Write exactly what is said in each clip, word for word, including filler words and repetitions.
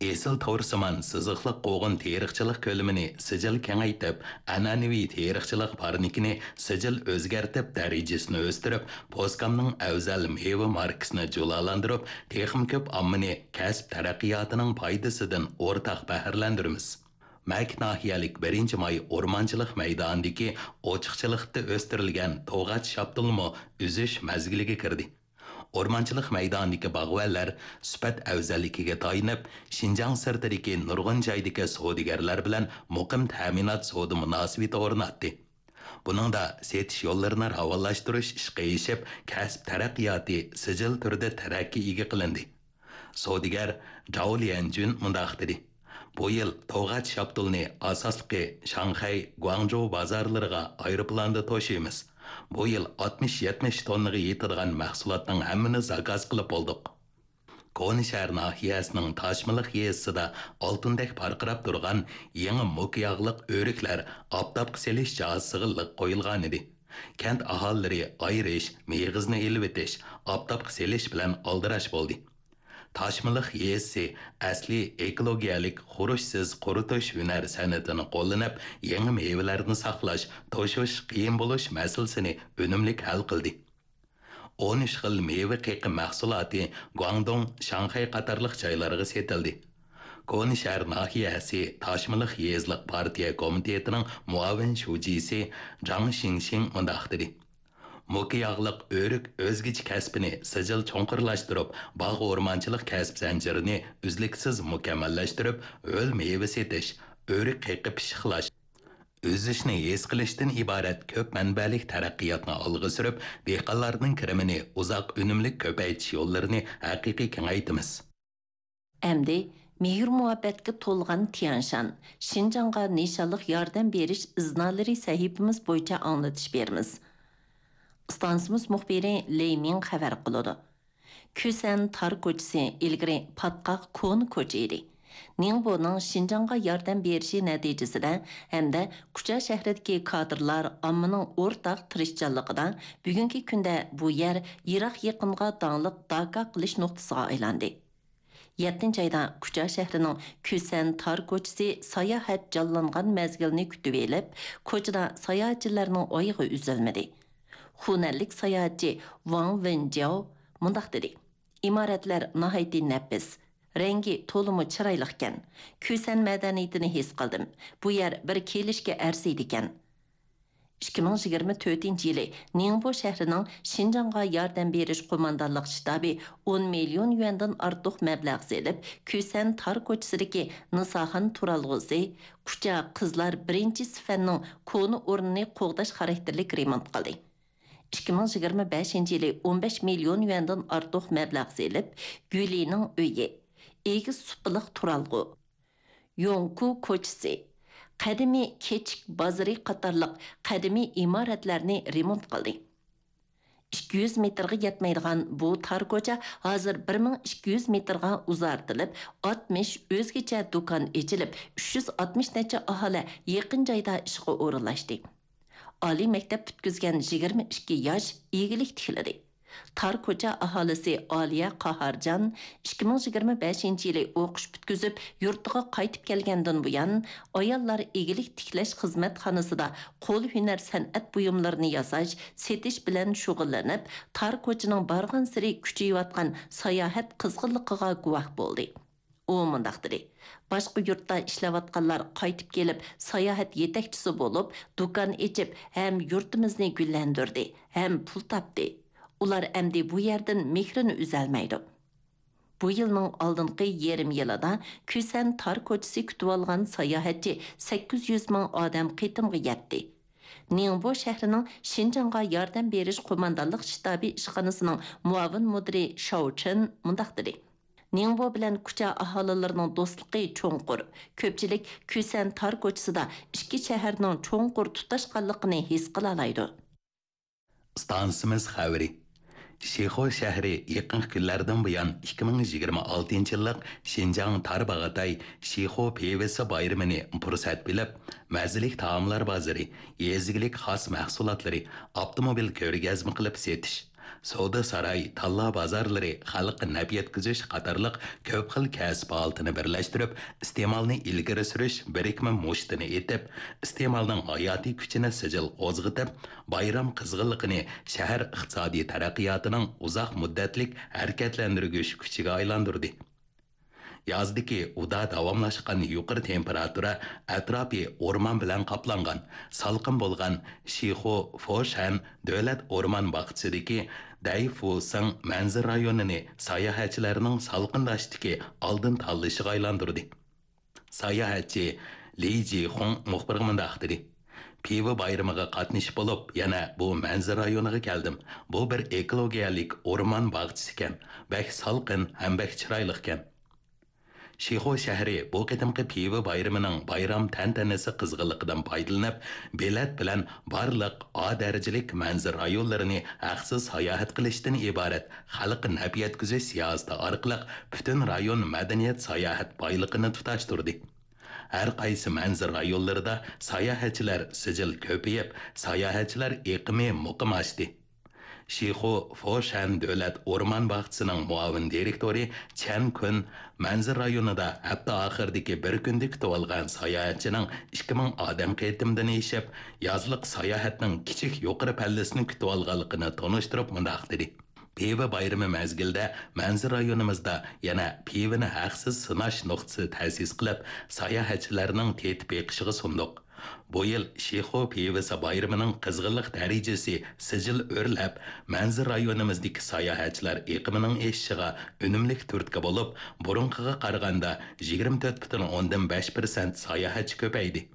ئېسىل تورسىمان سىزىقلىق قوغۇن تېرىقچىلىق كۆلىمىنى سىجىل كېڭەيتىپ، ئەنئەنىۋى تېرىقچىلىق پارنىكىنى سىجىل ئۆزگەرتىپ، دەرىجىسىنى ئۆستۈرۈپ، پوسكامنىڭ ئەۋزەل مېۋە ماركىسىنى جۇلالاندۇرۇپ، تېخىمۇ كۆپ ئاممىنى كەسىپ تەرەققىياتىنىڭ پايدىسىدىن ئورتاق بەھرىلەندۈرىمىز. مەك ناھىيەلىك بىرىنچى ماي ئورمانچىلىق مەيدانىدىكى ئوچۇقچىلىقتا ئۆستۈرۈلگەن توغاچ شاپتۇلمۇ ئۈزۈش مەزگىلىگە كىردى. ئورمانچىلىق مەيدانىدىكى باغۋەنلەر سۈپەت ئەۋزەللىكىگە تايىنىپ، شىنجاڭ سىرتىدىكى نۇرغۇن جايدىكى سودىگەرلەر بىلەن مۇقىم تەمىنات سودا مۇناسىۋىتى ئورناتتى. بۇنىڭدا سېتىش يوللىرىنى راۋانلاشتۇرۇش ئىشقا ئېشىپ، كەسىپ تەرەققىياتى سىجىل تۈردە تەرەققىيگە قىلىندى. سودىگەر جاۋ ليەنجۈن مۇنداق دېدى: بۇ يىل توغاچ شاپتۇلنى ئاساسلىقى شاڭخەي، گۇاڭجۇ بازارلىرىغا ئايروپىلاندا توشۇيمىز. بۇ يىل ئاتمىش يەتمىش توننىغا يېتىدىغان مەھسۇلاتنىڭ ھەممىنى زاكاز قىلىپ بولدۇق. كونا شەھەر ناھىيەسىنىڭ تاشمىلىق يېزىسىدا ئالتۇندەك پارقىراپ تۇرغان يېڭى موكا ياغلىق ئۆرۈكلەر ئاپتاپقا سېلىش جاھازىسىغا لىق قويۇلغانىدى. كەنت ئاھالىلىرى ئايرىش، مېغىزنى ئېلىۋېتىش، ئاپتاپقا سېلىش بىلەن ئالدىراش بولدى. تاشمىلىق يېزىسى ئەسلىي ئېكولوگىيەلىك خۇرۇچسىز قۇرۇتۇش ھۈنەر سەنئىتىنى قوللىنىپ، يېڭى مېۋىلەرنى ساقلاش، توشۇش قىيىن بولۇش مەسىلىسىنى ئۈنۈملۈك ھەل قىلدى. ئون ئۈچ خىل مېۋە قېقىم مەھسۇلاتى گۇاڭدۇڭ، شاڭخەي قاتارلىق جايلارغا سېتىلدى. كونا شەھەر ناھىيەسى تاشمىلىق يېزىلىق پارتىيە كومىتېتىنىڭ مۇئاۋىن شۇجىسى جاڭ شىڭشىڭ مۇنداق دېدى: موكا ياغلىق ئۆرۈك ئۆزگىچە كەسپىنى سىجىل چوڭقۇرلاشتۇرۇپ، باغ ئورمانچىلىق كەسىپ زەنجىرىنى ئۈزلۈكسىز مۇكەممەللەشتۈرۈپ، ھۆل مېۋە سېتىش، ئۆرۈك قېقىپ پىششىقلاش، ئۈزۈشنى ھېس قىلىشتىن ئىبارەت كۆپ مەنبەلىك تەرەققىياتنى ئالغا سۈرۈپ، دېھقانلارنىڭ كىرىمىنى ئۇزاق ئۈنۈملۈك كۆپەيتىش يوللىرىنى ھەقىقىي كېڭەيتىمىز. ئەمدى مېھىر-مۇھەببەتكە تولغان تيەنشان، شىنجاڭغا نىشانلىق ياردەم بېرىش ئىزنالىرى سەھىپىمىز بويىچە ئاڭلىتىش بېرىمىز. ئىستانسىمىز مۇخبىرى لېي مىڭ خەۋەر قىلىدۇ. كۈسەن تار كوچىسى ئىلگىرى پاتقاق كونا كوچا ئىدى. نىڭبونىڭ شىنجاڭغا ياردەم بېرىشى نەتىجىسىدە ھەمدە كۇچا شەھىرىدىكى كادىرلار ئاممىنىڭ ئورتاق تىرىشچانلىقىدا بۈگۈنكى كۈندە بۇ يەر يىراق يېقىنغا داڭلىق داكا قىلىش نۇقتىسىغا ئايلاندى. يەتتىنچى ئايدا كۇچا شەھىرىنىڭ كۈسەن تار كوچىسى ساياھەت جانلانغان مەزگىلنى كۈتۈۋېلىپ، كوچىدا ساياھەتچىلەرنىڭ ئايىغى ئۈزۈلمىدى. خۇنەنلىك ساياھەتچى ۋاڭ ۋېنجياۋ مۇنداق دېدى: ئىمارەتلەر ناھايىتى نەپىس، رەڭگى تولىمۇ چىرايلىقكەن. كۈسەن مەدەنىيىتىنى ھېس قىلدىم. بۇ يەر بىر كېلىشكە ئەرزىيدىكەن. ئىككى مىڭ يىگىرمە تۆتىنچى يىلى نىڭبو شەھىرىنىڭ شىنجاڭغا ياردەم بېرىش قوماندانلىق شتابى ئون مىليون يۈەندىن ئارتۇق مەبلەغ سېلىپ، كۈسەن تار كوچىسىدىكى نىساخان تۇرالغۇسى، كۇچا قىزلار بىرىنچى سىفەننىڭ كونا ئورنىنى قوغداش خاراكتېرلىك رېمونت قىلدى. ئىككى مىڭ يىگىرمە بەشىنچى يىلى ئون بەش مىليون يۈەندىن ئارتۇق مەبلەغ سېلىپ، گۈلىنىڭ ئۆيى، ئېگىز سۇپىلىق تۇرالغۇ، يوڭكۇ كوچىسى، قەدىمىي كېچىك بازىرى قاتارلىق قەدىمىي ئىمارەتلەرنى رېمونت قىلدى. ئىككى يۈز مېتىرغا يەتمەيدىغان بۇ تار كوچا ھازىر بىر مىڭ ئىككى يۈز مېتىرغا ئۇزارتىلىپ، ئاتمىش ئۆزگىچە دۇكان ئېچىلىپ، ئۈچ يۈز ئاتمىش نەچچە ئاھالە يېقىن جايدا ئىشقا ئورۇنلاشتى. ئالىي مەكتەپ پۈتكۈزگەن يىگىرمە ئىككى ياش ئىگىلىك تىكلىدى. تار كوچا ئاھالىسى ئالىيە قاھارجان ئىككى مىڭ يىگىرمە بەشىنچى يىلى ئوقۇش پۈتكۈزۈپ، يۇرتىغا قايتىپ كەلگەندىن بۇيان، ئاياللار ئىگىلىك تىكلەش خىزمەتخانىسىدا قول ھۈنەر سەنئەت بۇيۇملىرىنى ياساش، سېتىش بىلەن شۇغۇللىنىپ، تار كوچىنىڭ بارغانسېرى كۈچىيىۋاتقان ساياھەت قىزغىنلىقىغا گۇۋاھ بولدى. ئۇ مۇنداق دېدى: باشقا يۇرتتا ئىشلەۋاتقانلار قايتىپ كېلىپ، ساياھەت يېتەكچىسى بولۇپ، دۇكان ئېچىپ، ھەم يۇرتىمىزنى گۈللەندۈردى، ھەم پۇل تاپتى. ئۇلار ئەمدى بۇ يەردىن مېھرىنى ئۈزەلمەيدۇ. بۇ يىلنىڭ ئالدىنقى يېرىم يىلىدا كۈسەن تار كوچىسى كۈتۈۋالغان ساياھەتچى سەككىز يۈز مىڭ ئادەم قېتىمغا يەتتى. نىڭبو شەھىرىنىڭ شىنجاڭغا ياردەم بېرىش قوماندانلىق شتابى ئىشخانىسىنىڭ مۇئاۋىن مۇدىرى شاۋ چېن مۇنداق دېدى: نىڭبو بىلەن كۇچا ئاھالىلىرىنىڭ دوستلۇقى چوڭقۇر. كۆپچىلىك كۈسەن تار كوچىسىدا ئىككى شەھەرنىڭ چوڭقۇر تۇتاشقانلىقىنى ھېس قىلالايدۇ. ئىستانسىمىز خەۋىرى. شىخۇ شەھىرى يېقىنقى كۈنلەردىن بۇيان ئىككى مىڭ يىگىرمە ئالتىنچى يىللىق شىنجاڭ تارباغاتاي شىخۇ پىۋىسى بايرىمىنى پۇرسەت بىلىپ، مەززىلىك تائاملار بازىرى، يېزا ئىگىلىك خاس مەھسۇلاتلىرى، ئاپتوموبىل كۆرگەزمە قىلىپ سېتىش، سودا ساراي، تاللا بازارلىرى، خەلققە نەپ يەتكۈزۈش قاتارلىق كۆپ خىل كەسىپ ھالىتىنى بىرلەشتۈرۈپ، ئىستېمالنى ئىلگىرى سۈرۈش بىرىكمە مۇشتىنى ئېتىپ، ئىستېمالنىڭ ھاياتىي كۈچىنى سىجىل قوزغىتىپ، بايرام قىزغىنلىقىنى شەھەر ئىقتىسادىي تەرەققىياتىنىڭ ئۇزاق مۇددەتلىك ھەرىكەتلەندۈرگۈچ كۈچىگە ئايلاندۇردى. يازدىكى ئۇدا داۋاملاشقان يۇقىرى تېمپېراتۇرا، ئەتراپى ئورمان بىلەن قاپلانغان، سالقىن بولغان شىخۇ فوشەن دۆلەت ئورمان باغچىسىدىكى دەيفۇسىڭ مەنزىرە رايونىنى ساياھەتچىلەرنىڭ سالقىنداشتىكى ئالدىن تاللىشىغا ئايلاندۇردى. ساياھەتچى لى جىخۇڭ مۇخبىرغا مۇنداق دېدى: «پىۋا بايرىمىغا قاتنىشىپ بولۇپ، يەنە بۇ مەنزىرە رايونىغا كەلدىم. بۇ بىر ئېكولوگىيەلىك ئورمان باغچىسىكەن. بەك سالقىن ھەم بەك چىرايلىقكەن.» شىخۇ شەھىرى بۇ قېتىمقى پىۋا بايرىمىنىڭ بايرام تەنتەنىسى قىزغىنلىقىدىن پايدىلىنىپ، بېلەت بىلەن بارلىق ئا دەرىجىلىك مەنزىرە رايونلىرىنى ھەقسىز ساياھەت قىلىشتىن ئىبارەت خەلققە نەپ يەتكۈزۈش سىياسىتى ئارقىلىق پۈتۈن رايون مەدەنىيەت ساياھەت بايلىقىنى تۇتاشتۇردى. ھەر قايسى مەنزىرە رايونلىرىدا ساياھەتچىلەر سىجىل كۆپىيىپ، ساياھەتچىلەر ئېقىمى مۇقىم ئاشتى. شىخۇ فوشەن دۆلەت ئورمان باغچىسىنىڭ مۇئاۋىن دىرېكتورى چەن كۈن مەنزىرە رايونىدا ھەپتە ئاخىرىدىكى بىر كۈندە كۈتۈۋالغان ساياھەتچىنىڭ ئىككى مىڭ ئادەم قېتىمدىن ئېشىپ، يازلىق ساياھەتنىڭ كىچىك يۇقىرى پەللىسىنى كۈتۈۋالغانلىقىنى تونۇشتۇرۇپ مۇنداق دېدى: «پىۋا بايرىمى مەزگىلىدە مەنزىرە رايونىمىزدا يەنە پىۋىنى ھەقسىز سىناش نۇقتىسى تەسىس قىلىپ، ساياھەتچىلەرنىڭ تېتىپ بېقىشىغا سۇندۇق. بۇ يىل شىخۇ پىۋىسى بايرىمىنىڭ قىزغىنلىق دەرىجىسى سىجىل ئۆرلەپ، مەنزىرە رايونىمىزدىكى ساياھەتچىلەر ئېقىمىنىڭ ئېشىشىغا ئۈنۈملۈك تۈرتكە بولۇپ، بۇرۇنقىغا قارىغاندا يىگىرمە تۆت پۈتۈن ئوندىن بەش پىرسەنت ساياھەتچى كۆپەيدى.»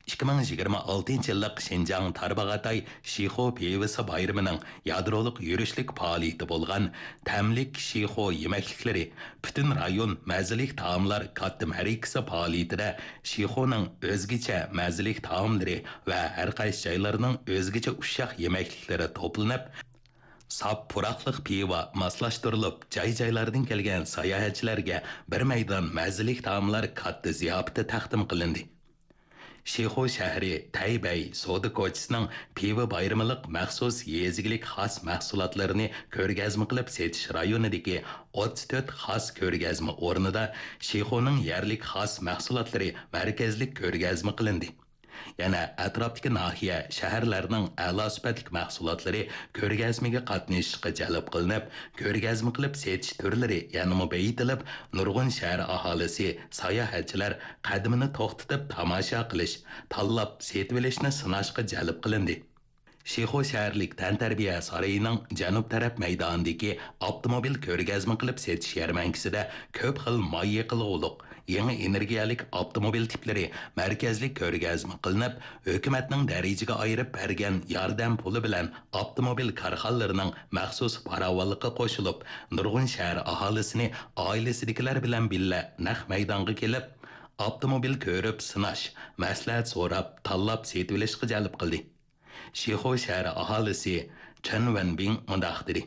ئىككى مىڭ يىگىرمە ئالتىنچى يىللىق شىنجاڭ تارباغاتاي شىخۇ پىۋىسى بايرىمىنىڭ يادرولۇق يۈرۈشلۈك پائالىيىتى بولغان تەملىك شىخۇ يېمەكلىكلىرى پۈتۈن رايون مەززىلىك تائاملار كاتتا مەرىكىسى پائالىيىتىدە شىخۇنىڭ ئۆزگىچە مەززىلىك تائاملىرى ۋە ھەر قايسى جايلارنىڭ ئۆزگىچە ئۇششاق يېمەكلىكلىرى توپلىنىپ، ساپ پۇراقلىق پىۋا ماسلاشتۇرۇلۇپ، جاي-جايلاردىن كەلگەن ساياھەتچىلەرگە بىر مەيدان مەززىلىك تائاملار كاتتا زىياپىتى تەقدىم قىلىندى. شىخۇ شەھىرى تەيبەي سودا كوچىسىنىڭ پىۋا بايرىمىلىق مەخسۇس يېزا ئىگىلىك خاس مەھسۇلاتلىرىنى كۆرگەزمە قىلىپ سېتىش رايونىدىكى ئوتتۇز تۆت خاس كۆرگەزمە ئورنىدا شىخۇنىڭ يەرلىك خاس مەھسۇلاتلىرى مەركەزلىك كۆرگەزمە قىلىندى. يەنە ئەتراپتىكى ناھىيە، شەھەرلەرنىڭ ئەلا سۈپەتلىك مەھسۇلاتلىرى كۆرگەزمىگە قاتنىشىشقا جەلپ قىلىنىپ، كۆرگەزمە قىلىپ سېتىش تۈرلىرى يەنىمۇ بېيىتىلىپ، نۇرغۇن شەھەر ئاھالىسى، ساياھەتچىلەر قەدىمىنى توختىتىپ تاماشا قىلىش، تاللاپ سېتىۋېلىشنى سىناشقا جەلپ قىلىندى. شىخۇ شەھەرلىك تەنتەربىيە سارىيىنىڭ جەنۇب تەرەپ مەيدانىدىكى ئاپتوموبىل كۆرگەزمە قىلىپ سېتىش يەرمەنكىسىدە كۆپ خىل ماي يېقىلغۇلۇق، يېڭى ئېنېرگىيەلىك ئاپتوموبىل تىپلىرى مەركەزلىك كۆرگەزمە قىلىنىپ، ھۆكۈمەتنىڭ دەرىجىگە ئايرىپ بەرگەن ياردەم پۇلى بىلەن ئاپتوموبىل كارخانىلىرىنىڭ مەخسۇس پاراۋانلىققا قوشۇلۇپ، نۇرغۇن شەھەر ئاھالىسىنى ئائىلىسىدىكىلەر بىلەن بىللە نەق مەيدانغا كېلىپ، ئاپتوموبىل كۆرۈپ سىناش، مەسلىھەت سوراپ، تاللاپ سېتىۋېلىشقا جەلپ قىلدى. شىخۇ شەھىرى ئاھالىسى چېن ۋېنبىڭ مۇنداق دېدى: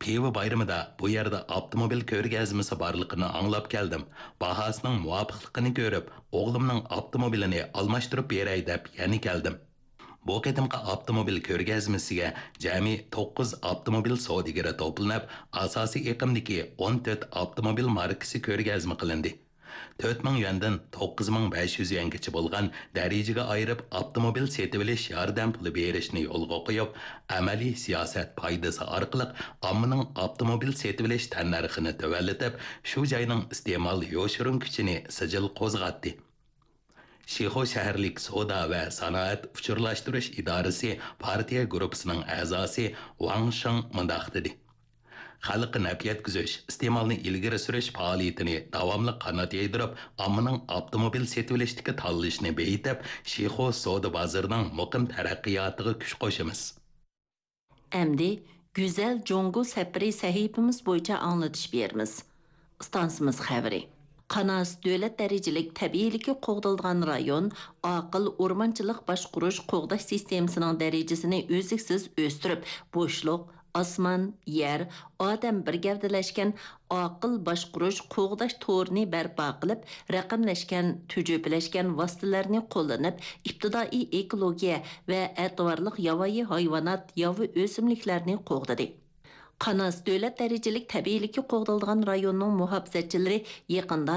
«پىۋا بايرىمىدا بۇ يەردە ئاپتوموبىل كۆرگەزمىسى بارلىقىنى ئاڭلاپ كەلدىم. باھاسىنىڭ مۇۋاپىقلىقىنى كۆرۈپ، ئوغلۇمنىڭ ئاپتوموبىلىنى ئالماشتۇرۇپ بېرەي دەپ يەنە كەلدىم.» بۇ قېتىمقى ئاپتوموبىل كۆرگەزمىسىگە جەمئىي توققۇز ئاپتوموبىل سودىگىرى توپلىنىپ، ئاساسىي ئېقىمدىكى ئون تۆت ئاپتوموبىل ماركىسى كۆرگەزمە قىلىندى. تۆت مىڭ يۈەندىن توققۇز مىڭ بەش يۈز يۈەنگىچە بولغان دەرىجىگە ئايرىپ ئاپتوموبىل سېتىۋېلىش ياردەم پۇلى بېرىشنى يولغا قويۇپ، ئەمەلىي سىياسەت پايدىسى ئارقىلىق ئاممىنىڭ ئاپتوموبىل سېتىۋېلىش تەننەرخىنى تۆۋەنلىتىپ، شۇ جاينىڭ ئىستېمال يوشۇرۇن كۈچىنى سىجىل قوزغاتتى. شىخۇ شەھەرلىك سودا ۋە سانائەت ئۇچۇرلاشتۇرۇش ئىدارىسى پارتىيە گۇرۇپپىسىنىڭ ئەزاسى ۋاڭ شېڭ مۇنداق دېدى: خەلققە نەپ يەتكۈزۈش، ئىستېمالنى ئىلگىرى سۈرۈش پائالىيىتىنى داۋاملىق قانات يايدۇرۇپ، ئاممىنىڭ ئاپتوموبىل سېتىۋېلىشتىكى تاللىشىنى بېيىتىپ، شىخۇ سودا بازىرىنىڭ مۇقىم تەرەققىياتىغا كۈچ قوشىمىز. ئەمدى گۈزەل جۇڭگو سەپىرى سەھىپىمىز بويىچە ئاڭلىتىش بېرىمىز. ئىستانسىمىز خەۋىرى. قاناس دۆلەت دەرىجىلىك تەبىئىيلىكى قوغدىلىدىغان رايون، ئاقىل ئورمانچىلىق باشقۇرۇش قوغداش سىستېمىسىنىڭ دەرىجىسىنى ئۈزلۈكسىز ئۆستۈرۈپ، بوشلۇق، ئاسمان، يەر، ئادەم بىر گەۋدىلەشكەن ئاقىل باشقۇرۇش، قوغداش تورىنى بەرپا قىلىپ، رەقەملەشكەن، تۈجۈپىلەشكەن ۋاسىتىلەرنى قوللىنىپ، ئىپتىدائىي ئېكولوگىيە ۋە ئەتىۋارلىق ياۋايى ھايۋانات، ياۋا ئۆسۈملۈكلەرنى قوغدىدى. قاناس دۆلەت دەرىجىلىك تەبىئىيلىكى قوغدىلىدىغان رايوننىڭ مۇھاپىزەتچىلىرى يېقىندا